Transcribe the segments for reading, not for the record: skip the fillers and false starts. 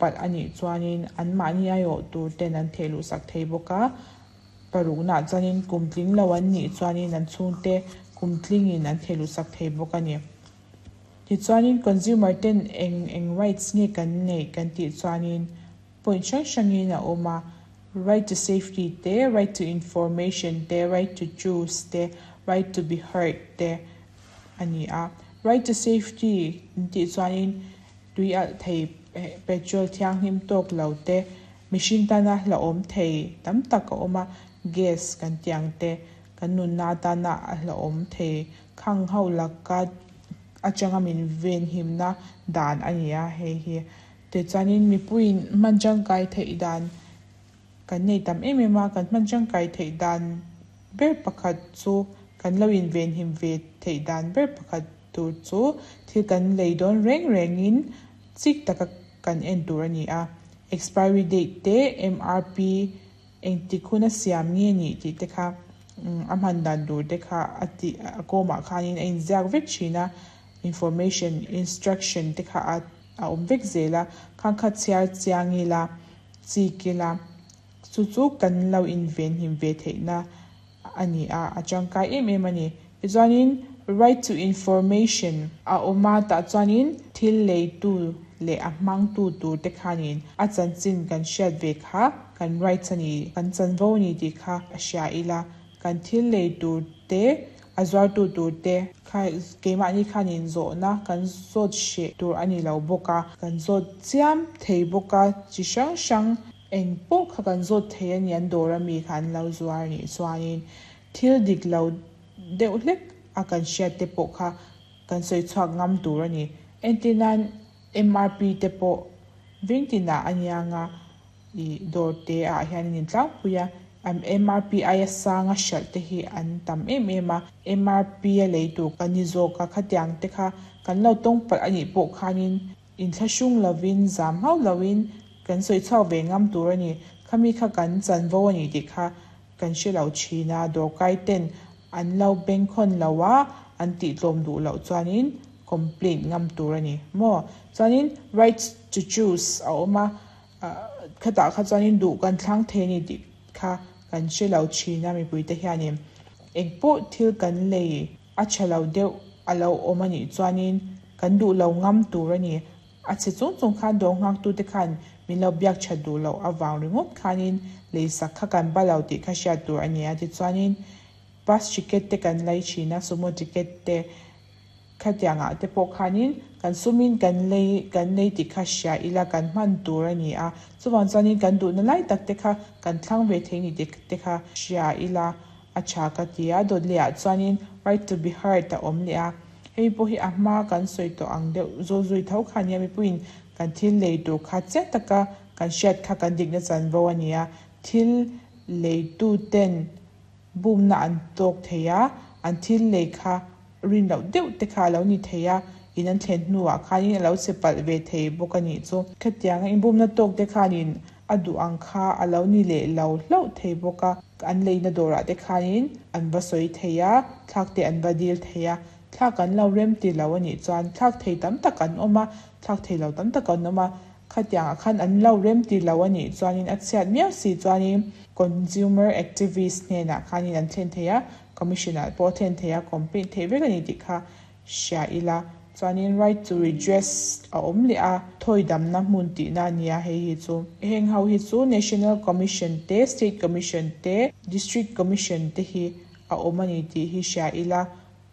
palh a nih chuanin anmahni aiawh tur ten an thehluh sak thei bawk a. Paruknaah chuanin kum tling lo an nih chuanin an chhungte kum tlingin an thehluh sak thei bawk a ni. Tichuanin consumer ten eng eng rights nge kan neih kan tih chuanin point hrang hrangin a awm a, right to safety te, right to information te, right to choose te, right to be heard te a ni a. Right to safety an tih chuanin tui alh thei petrol thianghlim tawk lo te, mihring tana hlauhawm thei tam tak a awm a, gas kan tih ang te, kan nunna atana a hlauhawm thei khang ho laka atanga min venhimna dan a ni a hei hi. Tichuanin mipuiin hman tangkai theih dan kan nei tam em em a, kan hman tangkai theih dan ber pakhat chu kan lo invenhim ve theih dan ber pakhat tur chu thil kan lei dawn reng rengin chik taka kan en tur a ni a. Expiry date te, MRP, engtik huna siam nge nih tih te kha a hman dan tur te kha a tih a kawmah khanin a inziak vek thin a, information, instruction te kha a a awm vek zel a, khang kha chhiar chiang ila, chik ila, chu chu kan lo invenhim ve theihna a ni a, a tangkai em em a ni. Tichuanin right to information a awm a, tah chuanin thil leitu leh a hmangtu tur te khanin a chanchin kan hriat ve kha kan rights a ni, kan chanvo a ni tih kha a hria ila, kan thil lei tur te, a zuartu tur te kha keimahni khanin zawhna kan zawt hreh tur a ni lo bawk a, kan zawt chiam thei bawk a, chi hrang hrang eng pawh kha kan zawt thei a ni an dawr ami kha an lo zuar a nih chuanin thil dik lo deuh hlek a kan hriat te pawh kha kan sawi chhuak ngam tur a ni. Entir nan MRP te pawh veng tinah a niang a, ih dawr te ah hian an intlangpui a, MRP aia sanga hralh te hi an tam em em a, MRP a lei tur kan ni zawk a, khatiang te kha kan lo tawng palh a nih pawh khanin inthlahrung lovin zam hauh loin kan sawi chhuak ve ngam tur a ni. Khami kha kan chanvo a ni tih kha kan hre lo thin a, dawrkai ten an lo bengkhawn lo a, an tih tlawm duh loh chuanin complaint ngam tur a ni maw? Chuanin right to choose a awm a, khatah kha chuanin duh kan thlang thei a ni tih kha kan hre lo thin a mipui te hianin engpawh thil kan lei a tha lo deuh a lo awm a nih chuanin kan duh lo ngam tur a ni. A chhe chung chung khan dawr nghaktute khan min lo biak that duh loh avang ringawt khanin leisak kha kan ba lo tih kha hriat tur a ni a. Tichuanin bus ticket te kan lei thin a, sumo ticket te khatiangah te pawh khanin kan sumin kan lei kan lei tih kha hria ila kan hman tur a ni a. Chuvang chuanin kan duhna lai tak te kha kan thlang ve thei ni tih te kha hria ila a tha ka ti a. Dawt lehah chuanin right to be heard a awm leh a. Hei pawh hi a hma kan sawi tawh ang deuh zawl zui tho kha nia mipuiin kan thil lei tur kha chiang taka kan hriat kha kan dikna chanvo a ni a, thil leitu ten bumna an tawk thei a, an thil lei kha rin loh deuh te kha a lo ni thei a, in an thlen hnuah khanin a lo che palh ve thei bawk a nih chu. Khatianga inbumna tawk te khanin a duh ang kha a lo ni leh lo hlauh thei bawk a, an leina dawrah te khanin an va sawi thei a, thlak te an va dil thei a, thlak an lo rem ti lo a nih chuan thlak thei tam tak an awm a, thlak thei lo tam tak an awm a, khatiangah khan an lo rem ti lo a nih chuanin a chhiat miau si chuanin consumer activist hnenah khanin an thlen thei a, commission ah pawh a thlen thei a, complaint theih vek a ni tih kha hria ila. Chuanin right to redress a awm leh a, thawi damna hmun tihna a nia hei hi chu. Heng ho hi chu National Commission te, State Commission te, District Commission te hi a awm a ni tih hi hria ila.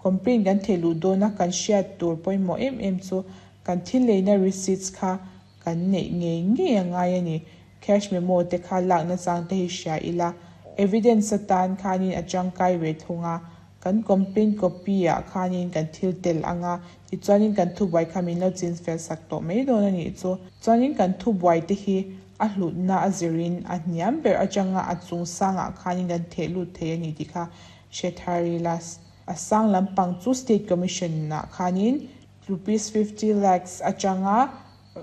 Complaint kan theih luh dawna kan hriat tur pawimawh em em chu kan thil leina receipts kha kan neih ngei ngei a ngai a ni. Cash memo te kha lakna chang te hi hria ila. Evidence atan khanin a tangkai ve thung a. Kan complaint copy ah khanin kan thil tel ang a, tichuanin kan thubuai kha min lo chin fel sak tawh mai dawn a nih chu. Chuanin kan thubuai te hi a hlutna a zirin a hniam ber atanga a chung sangah khanin kan theh lut thei a ni tih kha hre thar ila. A sang lampang chu State Commission ah khanin rupees 50 lakhs atanga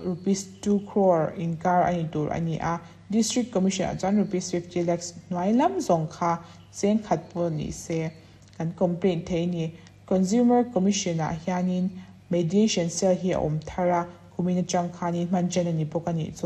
rupees 2 crore inkar a ni tur a ni a, District Commission ah chuan rupees 50 lakhs hnuai lam zawng kha cheng khat pawh ni se kan complaint thei a ni. Consumer Commission ah hianin Mediation Cell hi a awm thar a, kumin atang khanin hman chen a ni bawk a nih chu.